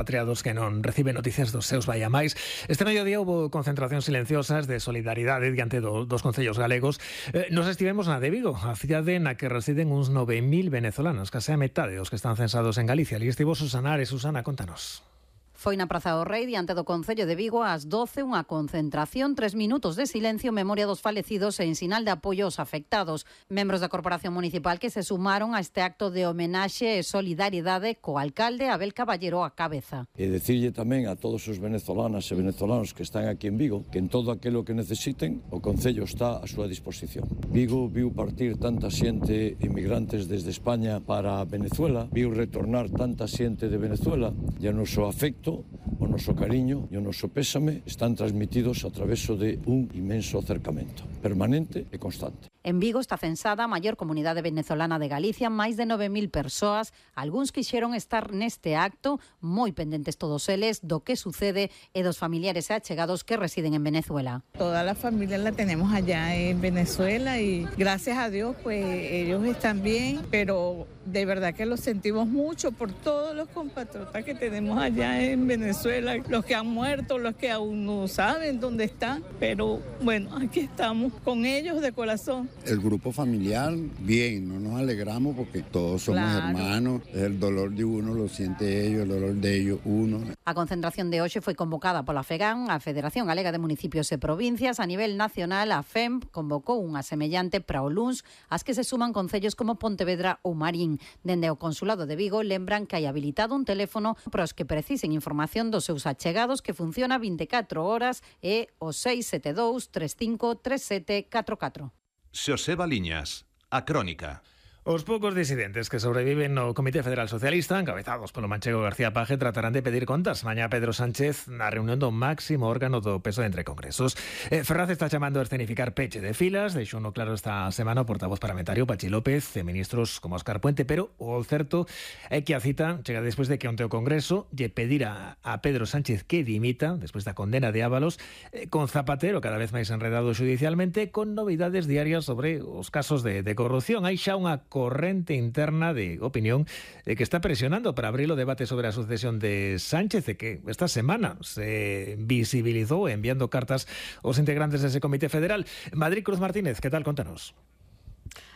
Patriados que non reciben noticias dos seus vai a máis. Este mediodía houve concentracións silenciosas de solidaridade diante dos concellos galegos. Nos estivemos na de Vigo, a cidade na que residen uns 9.000 venezolanos, case a metade dos que están censados en Galicia. Ali estivo Susana Ares. Susana, contanos. Foi na Praza do Rei, diante do Concello de Vigo, ás 12, unha concentración, 3 minutos de silencio, memoria dos falecidos e en sinal de apoio aos afectados. Membros da Corporación Municipal que se sumaron a este acto de homenaxe e solidariedade co alcalde Abel Caballero á cabeza. E dicirlle tamén a todos os venezolanas e venezolanos que están aquí en Vigo que en todo aquilo que necesiten o Concello está a súa disposición. Vigo viu partir tanta xente inmigrantes desde España para Venezuela, viu retornar tanta xente de Venezuela e o noso afecto, o noso cariño e o noso pésame están transmitidos a traveso de un inmenso acercamento, permanente e constante. En Vigo está censada a maior comunidade venezolana de Galicia, máis de 9.000 persoas. Algúns quixeron estar neste acto, moi pendentes todos eles do que sucede e dos familiares e achegados que residen en Venezuela. Toda la familia la tenemos allá en Venezuela y gracias a Dios pues ellos están bien, pero de verdad que lo sentimos mucho por todos los compatriotas que tenemos allá en Venezuela, los que han muerto, los que aún no saben dónde están, pero bueno, aquí estamos con ellos de corazón. El grupo familiar, bien, no nos alegramos porque todos somos hermanos, el dolor de uno lo siente ellos, el dolor de ellos uno. A concentración de hoxe foi convocada pola FEGAN, a Federación Galega de Municipios e Provincias. A nivel nacional, a FEMP convocou unha semellante para o luns, as que se suman concellos como Pontevedra ou Marín. Dende o Consulado de Vigo lembran que hai habilitado un teléfono para os que precisen información dos seus achegados que funciona 24 horas e o 672 35 37 44. Xoseba Liñas, a Crónica. Os poucos disidentes que sobreviven no Comité Federal Socialista, encabezados polo manchego García Paje, tratarán de pedir contas mañá Pedro Sánchez na reunión do máximo órgano do peso entre congresos. Ferraz está chamando a escenificar peche de filas, deixou no claro esta semana o portavoz parlamentario Pachi López e ministros como Óscar Puente, pero o certo é que a cita chega despois de que onte o Congreso lle pedira a Pedro Sánchez que dimita, despois da condena de Ábalos, con Zapatero cada vez máis enredado xudicialmente, con novidades diarias sobre os casos de corrupción. Hai xa unha corrente interna de opinión que está presionando para abrir o debate sobre a sucesión de Sánchez, que esta semana se visibilizou enviando cartas aos integrantes dese Comité Federal. Madrid, Cruz Martínez, que tal? Contanos.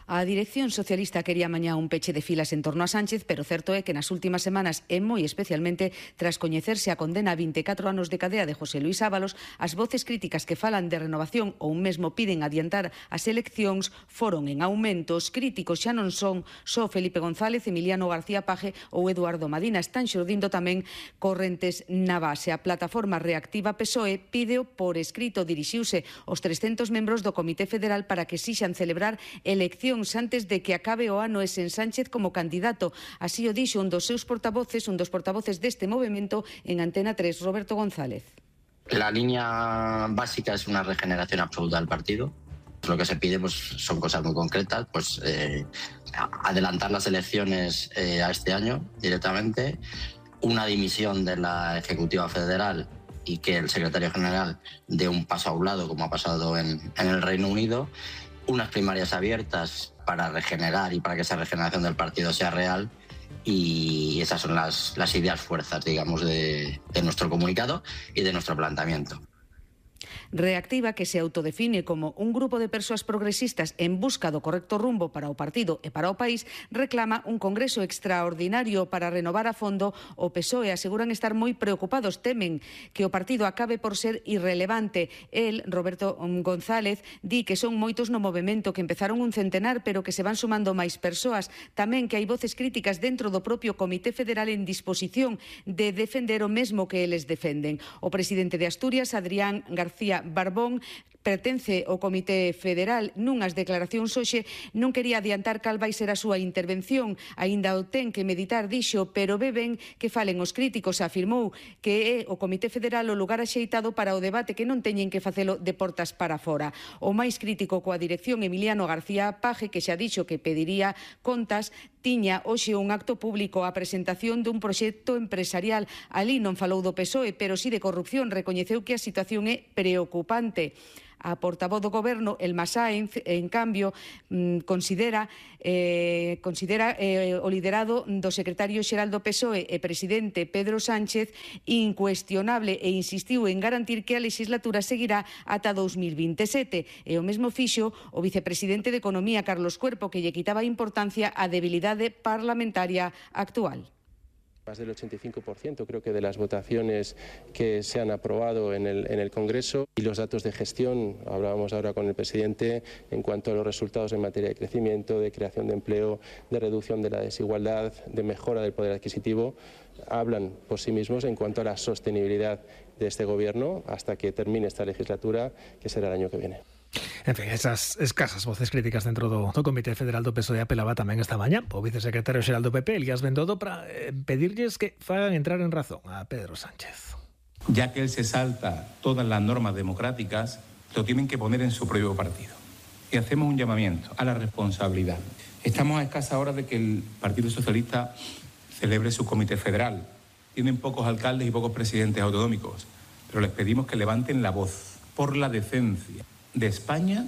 A dirección socialista quería mañá un peche de filas en torno a Sánchez, pero certo é que nas últimas semanas, e moi especialmente tras coñecerse a condena a 24 anos de cadea de José Luis Ábalos, as voces críticas que falan de renovación ou mesmo piden adiantar as eleccións foron en aumento. Os críticos xa non son só Felipe González, Emiliano García Paje ou Eduardo Madina. Están xurdindo tamén correntes na base. A plataforma reactiva PSOE pídeo por escrito, dirixiuse aos 300 membros do Comité Federal para que exixan celebrar eleccións antes de que acabe o ano e sen Sánchez como candidato. Así o dixo un dos portavoces deste movimento en Antena 3, Roberto González. La línea básica es una regeneración absoluta del partido. Lo que se pide pues, son cosas muy concretas, pues adelantar las elecciones a este año directamente, una dimisión de la Ejecutiva Federal y que el secretario general dé un paso a un lado, como ha pasado en el Reino Unido, unas primarias abiertas para regenerar y para que esa regeneración del partido sea real, y esas son las ideas fuerzas, digamos, de nuestro comunicado y de nuestro planteamiento. Reactiva, que se autodefine como un grupo de persoas progresistas en busca do correcto rumbo para o partido e para o país, reclama un congreso extraordinario para renovar a fondo o PSOE. Aseguran estar moi preocupados, temen que o partido acabe por ser irrelevante. El, Roberto González, di que son moitos no movemento, que empezaron un centenar, pero que se van sumando máis persoas. Tamén que hai voces críticas dentro do propio Comité Federal en disposición de defender o mesmo que eles defenden. O presidente de Asturias, Adrián García Barbón, pertence ao Comité Federal. Nunhas declaracións hoxe non quería adiantar cal vai ser a súa intervención, aínda o ten que meditar, dixo, pero beben que falen os críticos. Afirmou que é o Comité Federal o lugar axeitado para o debate, que non teñen que facelo de portas para fora. O máis crítico coa dirección, Emiliano García Paje, que xa dixo que pediría contas, tiña hoxe un acto público a presentación dun proxecto empresarial. Ali non falou do PSOE, pero si de corrupción. Recoñeceu que a situación é preocupante. A portavoz do Goberno, Elma Sáenz, en cambio, considera o liderado do secretario xeral do PSOE e presidente Pedro Sánchez incuestionable e insistiu en garantir que a legislatura seguirá ata 2027. E o mesmo fixo o vicepresidente de Economía, Carlos Cuerpo, que lle quitaba importancia á debilidade parlamentaria actual. Más del 85% creo que de las votaciones que se han aprobado en el Congreso, y los datos de gestión, hablábamos ahora con el presidente en cuanto a los resultados en materia de crecimiento, de creación de empleo, de reducción de la desigualdad, de mejora del poder adquisitivo, hablan por sí mismos en cuanto a la sostenibilidad de este Gobierno hasta que termine esta legislatura, que será el año que viene. En fin, esas escasas voces críticas dentro do Comité Federal do PSOE apelaba tamén esta mañá o vicesecretario xeral do PP, Elías Bendodo, para pedirlles que fagan entrar en razón a Pedro Sánchez. Ya que él se salta todas las normas democráticas, lo tienen que poner en su propio partido. Y hacemos un llamamiento a la responsabilidad. Estamos a escasas horas de que el Partido Socialista celebre su Comité Federal. Tienen pocos alcaldes y pocos presidentes autonómicos, pero les pedimos que levanten la voz por la decencia de España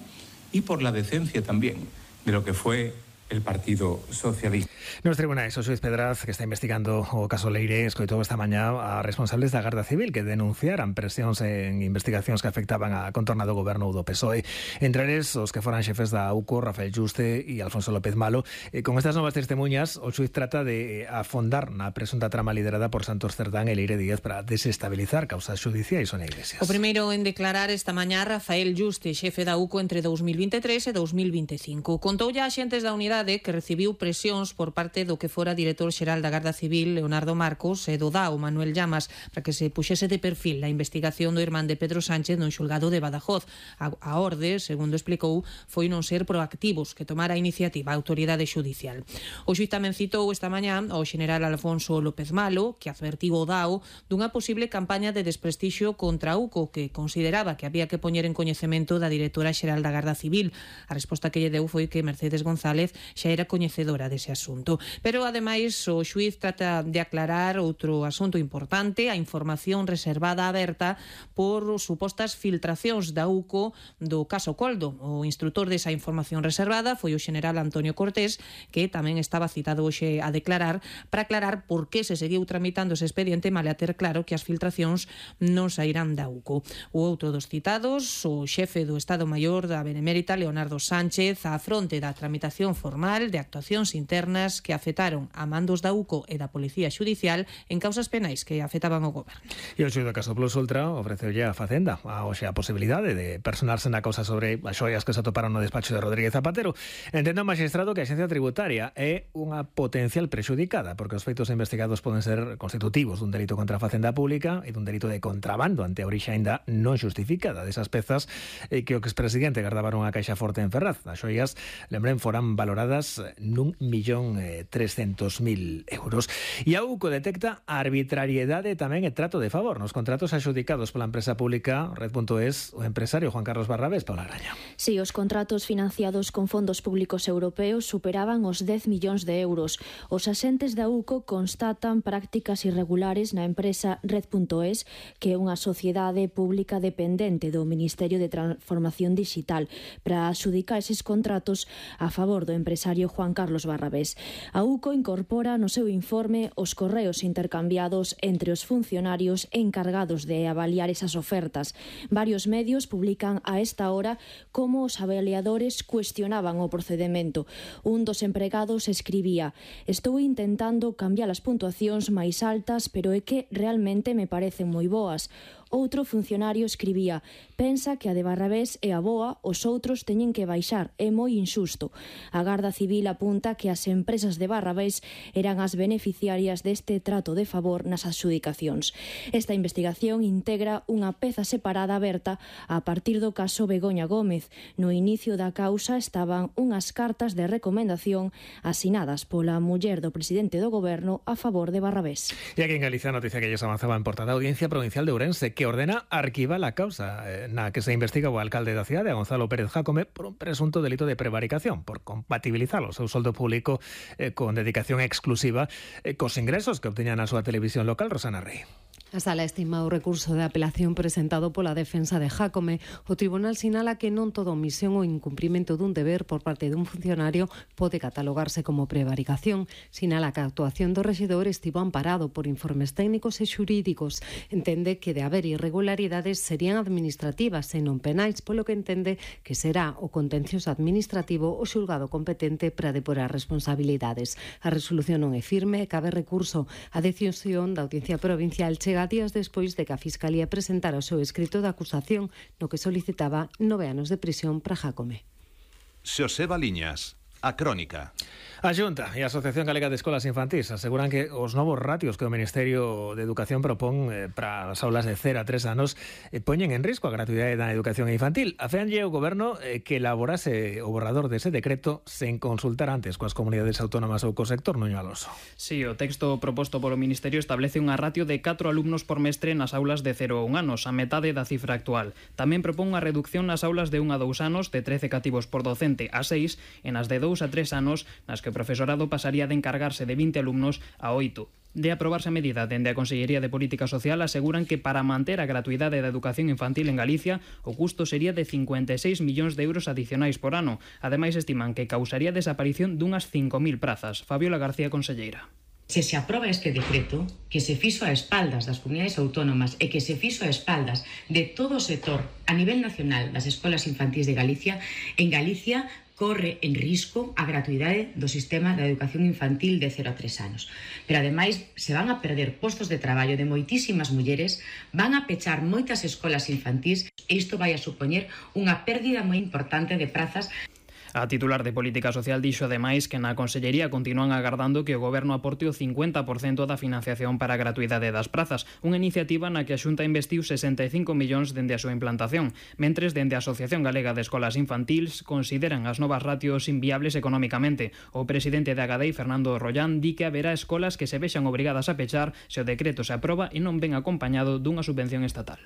y por la decencia también de lo que fue el Partido Socialista. Nos tribunais, o xuiz Pedraz, que está investigando o caso Leire, escoitou esta mañá a responsables da Garda Civil que denunciaran presións en investigacións que afectaban a contorna do goberno do PSOE. Entre eles, os que foran xefes da AUCO, Rafael Yuste e Alfonso López Malo. Con estas novas testemunhas, o xuiz trata de afondar na presunta trama liderada por Santos Cerdán e Leire Díaz para desestabilizar causas judiciais. Sonia Iglesias. O primeiro en declarar esta mañá Rafael Yuste, xefe da AUCO entre 2023 e 2025. Contoulle a xentes da unidade que recibiu presións por parte do que fora director xeral da Garda Civil, Leonardo Marcos, e do DAO, Manuel Llamas, para que se puxese de perfil a investigación do irmán de Pedro Sánchez no xulgado de Badajoz. A orde, segundo explicou, foi non ser proactivos, que tomara a iniciativa a autoridade xudicial. O xuiz tamén citou esta mañá ao xeneral Alfonso López Malo, que advertiu o DAO dunha posible campaña de desprestixio contra UCO, que consideraba que había que poñer en coñecemento da directora xeral da Garda Civil. A resposta que lle deu foi que Mercedes González xa era coñecedora dese asunto. Pero, ademais, o xuiz trata de aclarar outro asunto importante, a información reservada aberta por supostas filtracións da UCO do caso Coldo. O instrutor desa información reservada foi o xeneral Antonio Cortés, que tamén estaba citado hoxe a declarar para aclarar por que se seguiu tramitando ese expediente male a ter claro que as filtracións non sairán da UCO. O outro dos citados, o xefe do Estado Maior da Benemérita, Leonardo Sánchez, á fronte da tramitación formal de actuacións internas que afectaron a mandos da UCO e da Policía Xudicial en causas penais que afectaban ao goberno. E o xuíz do caso Plus Ultra ofreceulle a Facenda hoxe a posibilidade de personarse na causa sobre as xoias que se atoparon no despacho de Rodríguez Zapatero. Entendo o magistrado que a Axencia Tributaria é unha potencial prexudicada porque os feitos investigados poden ser constitutivos dun delito contra a Facenda Pública e dun delito de contrabando ante a orixe aínda non xustificada desas pezas que o expresidente gardaban unha caixa forte en Ferraz. As xoias, lembren, foran valoradas n'1.300.000 euros. E a UCO detecta arbitrariedade tamén e trato de favor nos contratos adxudicados pola empresa pública Red.es, o empresario Juan Carlos Barrabés. Paula Graña. Si, os contratos financiados con fondos públicos europeos superaban os 10 millóns de euros. Os axentes da UCO constatan prácticas irregulares na empresa Red.es, que é unha sociedade pública dependente do Ministerio de Transformación Digital, para adxudicar eses contratos a favor do empresario Juan Carlos Barrabés. A UCO incorpora no seu informe os correos intercambiados entre os funcionarios encargados de avaliar esas ofertas. Varios medios publican a esta hora como os avaliadores cuestionaban o procedemento. Un dos empregados escribía: "Estou intentando cambiar as puntuacións máis altas, pero é que realmente me parecen moi boas." Outro funcionario escribía: "Pensa que a de Barrabés é a boa, os outros teñen que baixar, é moi injusto." A Garda Civil apunta que as empresas de Barrabés eran as beneficiarias deste trato de favor nas adxudicacións. Esta investigación integra unha peza separada aberta a partir do caso Begoña Gómez. No inicio da causa estaban unhas cartas de recomendación asinadas pola muller do presidente do goberno a favor de Barrabés. E aquí en Galicia, noticia que ellos avanzaba en portada, Audiencia Provincial de Ourense, que ordena arquivar la causa na que se investiga o alcalde da cidade, a Gonzalo Pérez Jácome, por un presunto delito de prevaricación, por compatibilizar o seu soldo público con dedicación exclusiva cos ingresos que obteñan na súa televisión local. Rosana Rey. A sala estima o recurso de apelación presentado pola defensa de Jácome. O tribunal sinala que non toda omisión ou incumprimento dun deber por parte dun funcionario pode catalogarse como prevaricación. Sinala que a actuación do rexedor estivo amparado por informes técnicos e xurídicos. Entende que de haber irregularidades serían administrativas e non penais, polo que entende que será o contencioso administrativo o xulgado competente para depurar responsabilidades. A resolución non é firme e cabe recurso. A decisión da Audiencia Provincial chega días despois de que a Fiscalía presentara o seu escrito de acusación no que solicitaba 9 anos de prisión para Jácome. Xoseba Liñas, a Crónica. A Xunta e a Asociación Galega de Escolas Infantís aseguran que os novos ratios que o Ministerio de Educación propón para as aulas de 0 a 3 anos poñen en risco a gratuidade da educación infantil. Afeanlle o Goberno que elaborase o borrador dese decreto sen consultar antes coas comunidades autónomas ou co sector. Nuño Alonso. Sí, o texto proposto polo Ministerio establece unha ratio de 4 alumnos por mestre nas aulas de 0 a 1 anos, a metade da cifra actual. Tamén propón unha reducción nas aulas de 1 a 2 anos de 13 cativos por docente a 6 e nas de 2 a 3 anos nas que o profesorado pasaría de encargarse de 20 alumnos a 8. De aprobarse a medida dende a Consellería de Política Social aseguran que para manter a gratuidade da educación infantil en Galicia o custo sería de 56 millóns de euros adicionais por ano. Ademais estiman que causaría desaparición dunhas 5.000 prazas. Fabiola García, conselleira. Se aproba este decreto, que se fixo a espaldas das comunidades autónomas e que se fixo a espaldas de todo o sector a nivel nacional das escolas infantís de Galicia, en Galicia corre en risco a gratuidade do sistema da educación infantil de 0 a 3 anos. Pero ademais se van a perder postos de traballo de moitísimas mulleres, van a pechar moitas escolas infantís e isto vai a supoñer unha pérdida moi importante de prazas. A titular de Política Social dixo ademais que na Consellería continúan agardando que o Goberno aporte o 50% da financiación para a gratuidade das prazas, unha iniciativa na que a Xunta investiu 65 millóns dende a súa implantación, mentres dende a Asociación Galega de Escolas Infantils consideran as novas ratios inviables economicamente. O presidente de Agadei, Fernando Rollán, di que haberá escolas que se vexan obrigadas a pechar se o decreto se aproba e non ven acompañado dunha subvención estatal.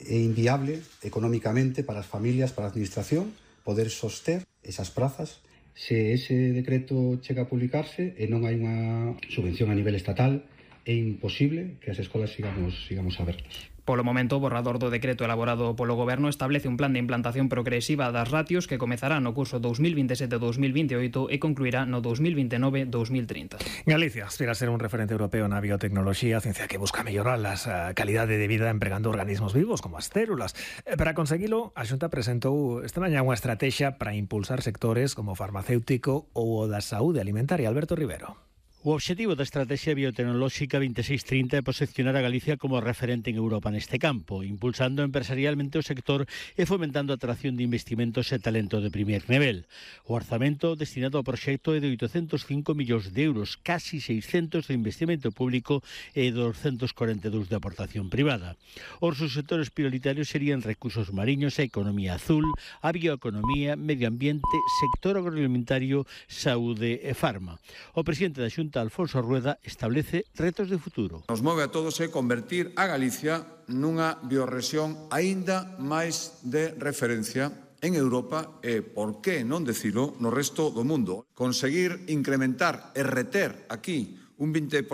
É inviable economicamente para as familias, para a administración, poder soster esas prazas se ese decreto chega a publicarse e non hai unha subvención a nivel estatal. É imposible que as escolas sigamos abertas. Polo momento, o borrador do decreto elaborado polo Goberno establece un plan de implantación progresiva das ratios que comezará no curso 2027-2028 e concluirá no 2029-2030. Galicia aspira a ser un referente europeo na biotecnoloxía, ciencia que busca mellorar a calidade de vida empregando organismos vivos como as células. Para conseguilo, a Xunta presentou esta mañá unha estrategia para impulsar sectores como o farmacéutico ou o da saúde alimentaria. Alberto Rivero. O obxectivo da Estrategia Biotecnolóxica 2630 é posicionar a Galicia como referente en Europa neste campo, impulsando empresarialmente o sector e fomentando a atracción de investimentos e talento de primer nivel. O orzamento destinado ao proxecto é de 805 millóns de euros, casi 600 de investimento público e 242 de aportación privada. Os sectores prioritarios serían recursos mariños e economía azul, a bioeconomía, medio ambiente, sector agroalimentario, saúde e farma. O presidente da Xunta, Alfonso Rueda, establece retos de futuro. Nos move a todos é convertir a Galicia nunha biorrexión aínda máis de referencia en Europa e, por que non dicilo, no resto do mundo. Conseguir incrementar e reter aquí un 20%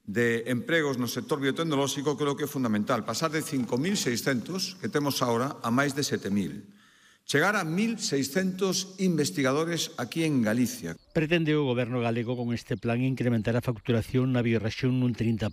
de empregos no sector biotecnolóxico creo que é fundamental. Pasar de 5.600 que temos ahora a máis de 7.000. Chegar a 1.600 investigadores aquí en Galicia. Pretende o Goberno galego con este plan incrementar a facturación na biorrexión nun 30%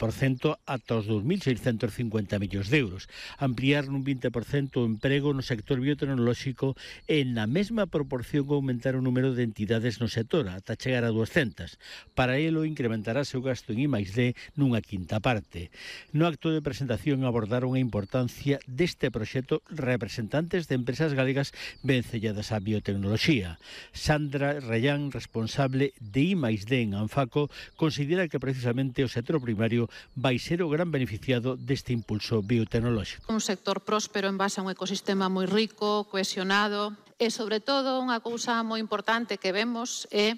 ata os 2.650 millóns de euros, ampliar nun 20% o emprego no sector biotecnolóxico e na mesma proporción aumentar o número de entidades no sector ata chegar a 200. Para elo incrementarase o gasto en I+D nunha quinta parte. No acto de presentación abordaron a importancia deste proxecto representantes de empresas galegas vencelladas á biotecnoloxía. Sandra Rayán, responsable de I+D en Anfaco, considera que precisamente o sector primario vai ser o gran beneficiado deste impulso biotecnolóxico. Un sector próspero en base a un ecosistema moi rico, cohesionado e, sobre todo, unha cousa moi importante que vemos é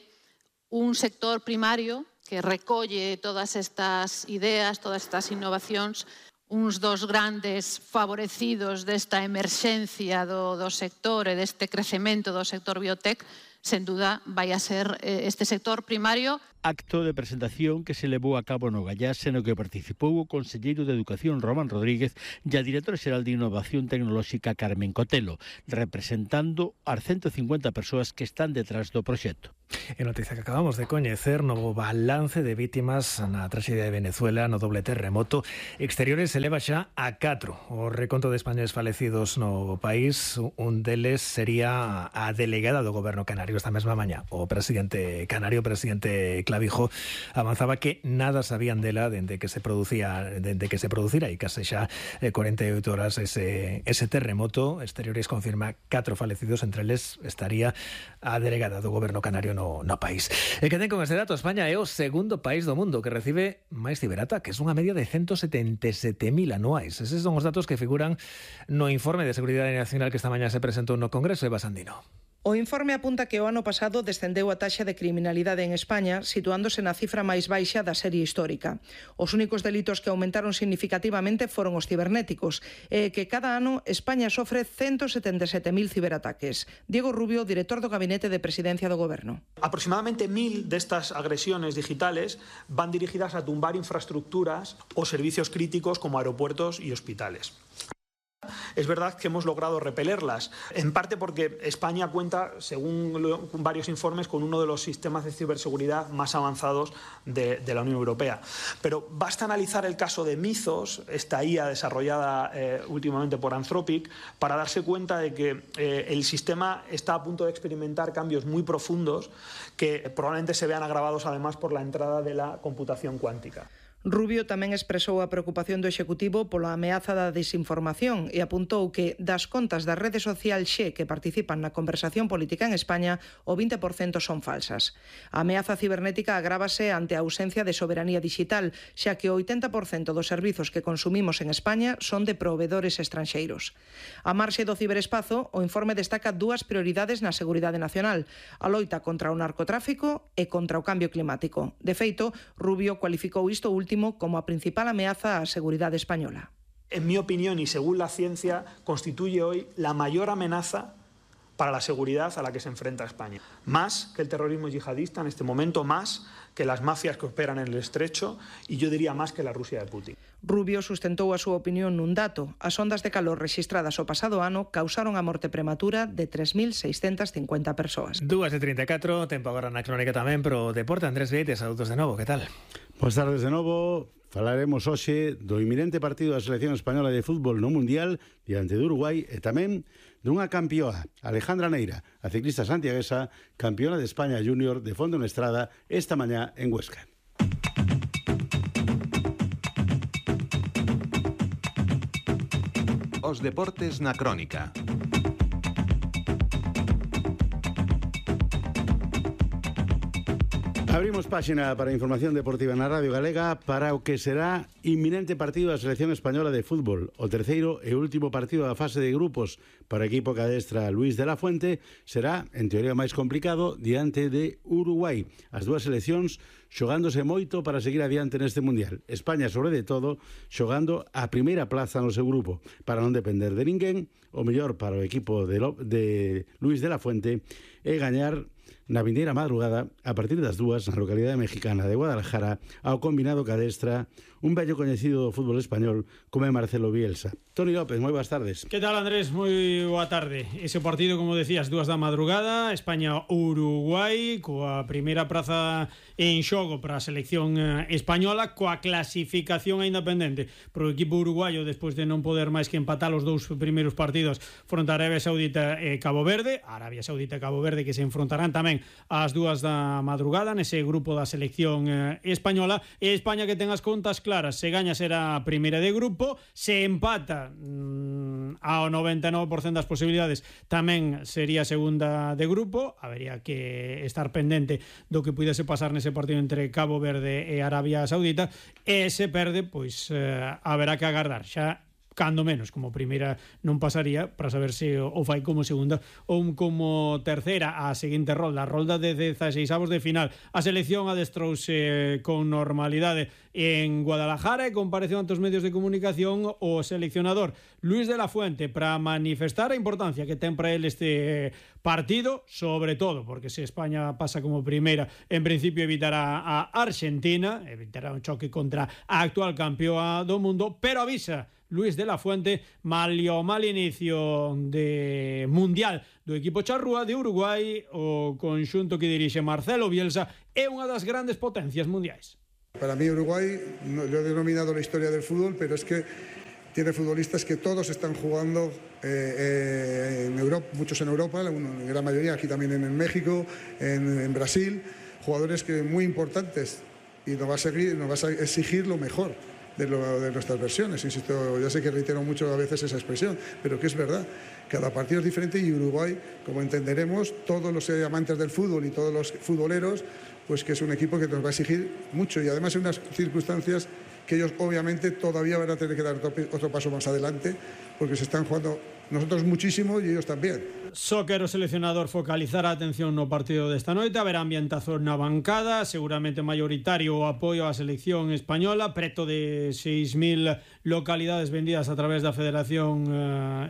un sector primario que recolle todas estas ideas, todas estas innovacións. Uns dos grandes favorecidos desta emerxencia do sector e deste crecemento do sector biotech sen duda vai a ser este sector primario. Acto de presentación que se levou a cabo no Gallase no que participou o conselleiro de Educación Román Rodríguez e a directora xeral de Innovación Tecnolóxica Carmen Cotelo, representando as 150 persoas que están detrás do proxecto. En noticia que acabamos de coñecer, novo balance de vítimas na traxedia de Venezuela no doble terremoto. Exteriores se leva xa a 4. O reconto de españoles falecidos no país, un deles sería a delegada do goberno canario esta mesma mañá. O presidente canario, presidente Clavijo, avanzaba que nada sabían dela dende que se producira e case xa 48 horas ese terremoto. Exteriores confirma 4 falecidos, entre eles estaría a delegada do goberno canario no país. E que ten con este dato, España é o segundo país do mundo que recibe máis ciberataques, unha media de 177.000 anuais. Eses son os datos que figuran no informe de Seguridade Nacional que esta mañá se presentou no Congreso. Eva Sandino. O informe apunta que o ano pasado descendeu a taxa de criminalidade en España, situándose na cifra máis baixa da serie histórica. Os únicos delitos que aumentaron significativamente foron os cibernéticos, e que cada ano España sofre 177.000 ciberataques. Diego Rubio, director do Gabinete de Presidencia do Goberno. Aproximadamente 1.000 destas agresiones digitales van dirigidas a tumbar infraestructuras o servicios críticos como aeropuertos y hospitales. Es verdad que hemos logrado repelerlas, en parte porque España cuenta, según varios informes, con uno de los sistemas de ciberseguridad más avanzados de la Unión Europea. Pero basta analizar el caso de Mythos, esta IA desarrollada últimamente por Anthropic, para darse cuenta de que el sistema está a punto de experimentar cambios muy profundos que probablemente se vean agravados además por la entrada de la computación cuántica. Rubio tamén expresou a preocupación do Executivo pola ameaza da desinformación e apuntou que das contas da rede social Xe que participan na conversación política en España, o 20% son falsas. A ameaza cibernética agrávase ante a ausencia de soberanía digital, xa que o 80% dos servizos que consumimos en España son de provedores estranxeiros. A marxe do ciberespazo, o informe destaca 2 prioridades na seguridade nacional: a loita contra o narcotráfico e contra o cambio climático. De feito, Rubio cualificou isto último como a principal amenaza á seguridade española. En mi opinión y según la ciencia, constituye hoy la mayor amenaza para la seguridad a la que se enfrenta España. Más que el terrorismo yihadista en este momento, más que las mafias que operan en el Estrecho y yo diría más que la Rusia de Putin. Rubio sustentou a súa opinión nun dato. As ondas de calor rexistradas o pasado ano causaron a morte prematura de 3.650 persoas. 2:34, tempo agora na crónica tamén pro deporte. Andrés Vieites, saúdos de novo, que tal? Boas tardes de novo. Falaremos hoxe do inminente partido da selección española de fútbol no Mundial diante de Uruguai e tamén dunha campioa, Alejandra Neira, a ciclista santiaguesa, campeona de España Júnior de fondo en estrada esta mañá en Huesca. Os deportes na crónica. Abrimos páxina para a información deportiva na Radio Galega para o que será inminente partido da selección española de fútbol. O terceiro e último partido da fase de grupos para o equipo que adestra Luís de la Fuente será, en teoría, máis complicado diante de Uruguai. As dúas seleccións xogándose moito para seguir adiante neste Mundial. España, sobre de todo, xogando a primeira plaza no seu grupo para non depender de ninguén. O mellor para o equipo de Luís de la Fuente é gañar na vindeira madrugada a partir das 2 na localidade mexicana de Guadalajara ao combinado que adestra un vello coñecido do fútbol español como é Marcelo Bielsa. Toni López, moi boas tardes. Que tal, Andrés? Moi boa tarde. Ese partido, como decías, 2 da madrugada, España-Uruguai, coa primeira praza en xogo para a selección española, coa clasificación aínda pendente pro equipo uruguaio despois de non poder máis que empatar os 2 primeiros partidos fronte a Arabia Saudita e Cabo Verde. Arabia Saudita e Cabo Verde que se enfrontarán tamén ás 2 da madrugada nese grupo da selección española, e España que ten as contas claras. Se gaña será a primeira de grupo, se empata ao 99% das posibilidades tamén sería a segunda de grupo. Habería que estar pendente do que pudese pasar nese partido entre Cabo Verde e Arabia Saudita, e se perde, pois haberá que agardar xa cando menos como primeira non pasaría, para saber se o fai como segunda ou como terceira. A seguinte rolda, a rolda de 16avos de final. A selección adestrouse con normalidade en Guadalajara e compareceu ante os medios de comunicación o seleccionador Luis de la Fuente para manifestar a importancia que ten para él este partido, sobre todo porque se España pasa como primeira, en principio evitará a Argentina, evitará un choque contra a actual campeoa do mundo, pero avisa Luis de la Fuente, mal inicio de Mundial do equipo charrúa de Uruguai, o conxunto que dirixe Marcelo Bielsa é unha das grandes potencias mundiais. Para mí Uruguay, yo he denominado la historia del fútbol, pero es que tiene futbolistas que todos están jugando en Europa, muchos en Europa, la gran mayoría aquí también en México, en Brasil, jugadores que muy importantes, y nos va a exigir lo mejor de nuestras versiones. Insisto, ya sé que reitero mucho a veces esa expresión, pero que es verdad. Cada partido es diferente y Uruguay, como entenderemos, todos los amantes del fútbol y todos los futboleros, pues que es un equipo que nos va a exigir mucho y además en unas circunstancias que ellos obviamente todavía van a tener que dar otro paso más adelante porque se están jugando nosotros muchísimo y ellos también. Só quero o seleccionador focalizar a atención no partido desta noite, haberá ambientazo na bancada, seguramente mayoritario o apoio á selección española, preto de 6.000 localidades vendidas a través da Federación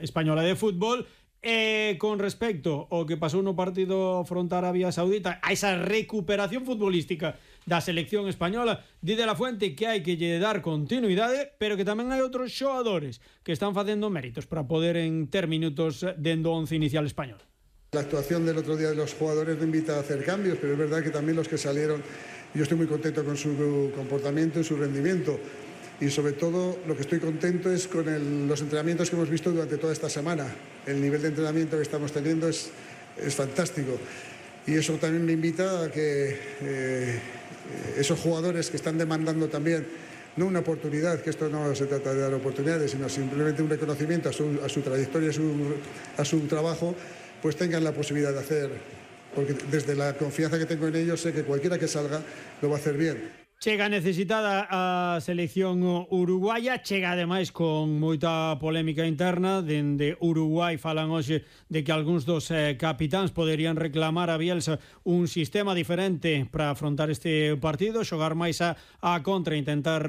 Española de Fútbol. E con respecto ao que pasou no partido fronte a Arabia Saudita, a esa recuperación futbolística da selección española, di de la Fuente que hai que lle dar continuidade, pero que tamén hai outros xogadores que están facendo méritos para poder ter minutos dentro do once inicial español. La actuación del otro día de los jugadores me invita a hacer cambios, pero es verdad que también los que salieron, yo estoy muy contento con su comportamiento y su rendimiento. Y sobre todo lo que estoy contento es con los entrenamientos que hemos visto durante toda esta semana. El nivel de entrenamiento que estamos teniendo es fantástico. Y eso también me invita a que esos jugadores que están demandando también, no una oportunidad, que esto no se trata de dar oportunidades, sino simplemente un reconocimiento a su trayectoria, a su trabajo, pues tengan la posibilidad de hacer. Porque desde la confianza que tengo en ellos sé que cualquiera que salga lo va a hacer bien. Chega necesitada a selección uruguaya, chega ademais con moita polémica interna. Dende Uruguai falan hoxe de que algúns dos capitáns poderían reclamar a Bielsa un sistema diferente para afrontar este partido, xogar máis a contra, intentar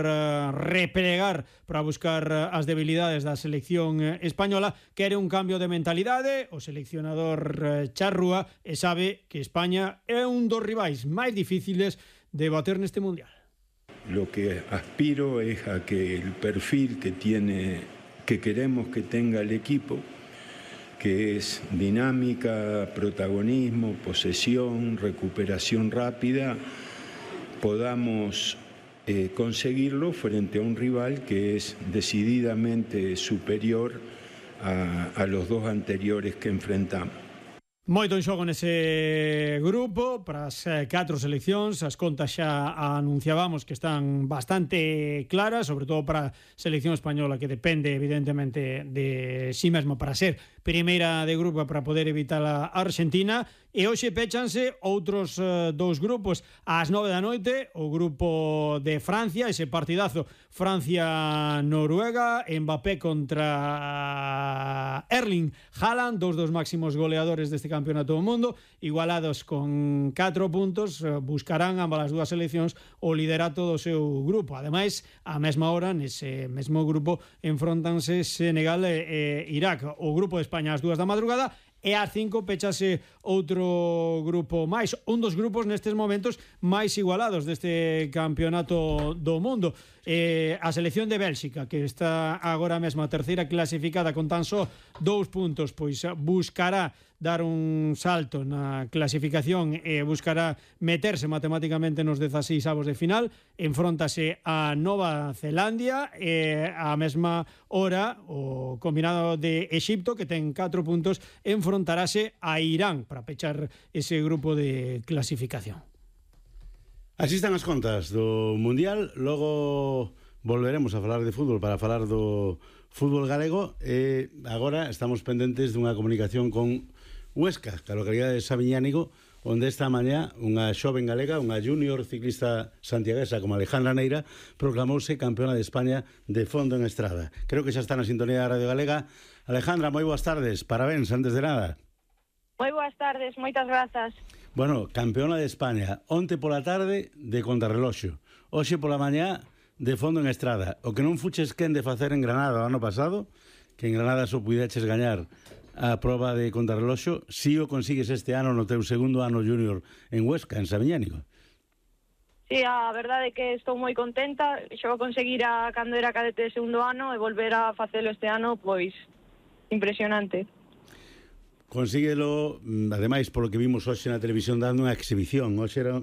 replegar para buscar as debilidades da selección española. Quere un cambio de mentalidade o seleccionador charrúa e sabe que España é un dos rivais máis difíciles de bater neste Mundial. Lo que aspiro es a que el perfil que queremos que tenga el equipo, que es dinámica, protagonismo, posesión, recuperación rápida, podamos conseguirlo frente a un rival que es decididamente superior a los dos anteriores que enfrentamos. Moito en xogo nese grupo para as 4 seleccións. As contas xa anunciábamos que están bastante claras, sobre todo para a selección española, que depende evidentemente de sí mesma para ser primeira de grupo, para poder evitar a Argentina. E hoxe pechanse outros dous grupos ás 9 da noite, o grupo de Francia, ese partidazo Francia-Noruega, Mbappé contra Erling Haaland, dos máximos goleadores deste campeonato do mundo, igualados con 4 puntos, buscarán ambas as dúas seleccións o liderato do seu grupo. Ademais, á mesma hora, nese mesmo grupo, enfrontanse Senegal e Irak. O grupo de España ás 2 da madrugada, e ás 5 pechase outro grupo máis, un dos grupos nestes momentos máis igualados deste campeonato do mundo. A selección de Bélxica, que está agora mesmo a terceira clasificada con tan só 2 puntos, pois buscará dar un salto na clasificación e buscará meterse matemáticamente nos 16avos de final. Enfróntase a Nova Zelandia e a mesma hora o combinado de Exipto, que ten 4 puntos, enfrontarase a Irán para pechar ese grupo de clasificación. Así están as contas do Mundial. Logo volveremos a falar de fútbol para falar do fútbol galego e agora estamos pendentes dunha comunicación con Huesca, que a localidade de Sabiñánigo, onde esta mañá unha xoven galega, unha junior ciclista santiaguesa como Alejandra Neira, proclamouse campeona de España de fondo en estrada. Creo que xa está na sintonía da Radio Galega. Alejandra, moi boas tardes, parabéns antes de nada. Moi boas tardes, moitas grazas. Bueno, campeona de España, onte pola tarde de contrarreloxo, hoxe pola mañá de fondo en estrada. O que non fuches quen de facer en Granada o ano pasado, que en Granada só puideches gañar a proba de contrarreloxo, si o consigues este ano no teu segundo ano junior en Huesca, en Sabiñánigo. Sí, a verdade é que estou moi contenta. Xo conseguir cando era cadete de segundo ano e volver a facelo este ano, pois impresionante. Consíguelo, ademais, polo que vimos hoxe na televisión dando unha exhibición. Hoxe era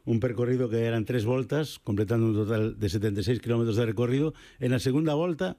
un percorrido que eran 3 voltas, completando un total de 76 km de recorrido. En a segunda volta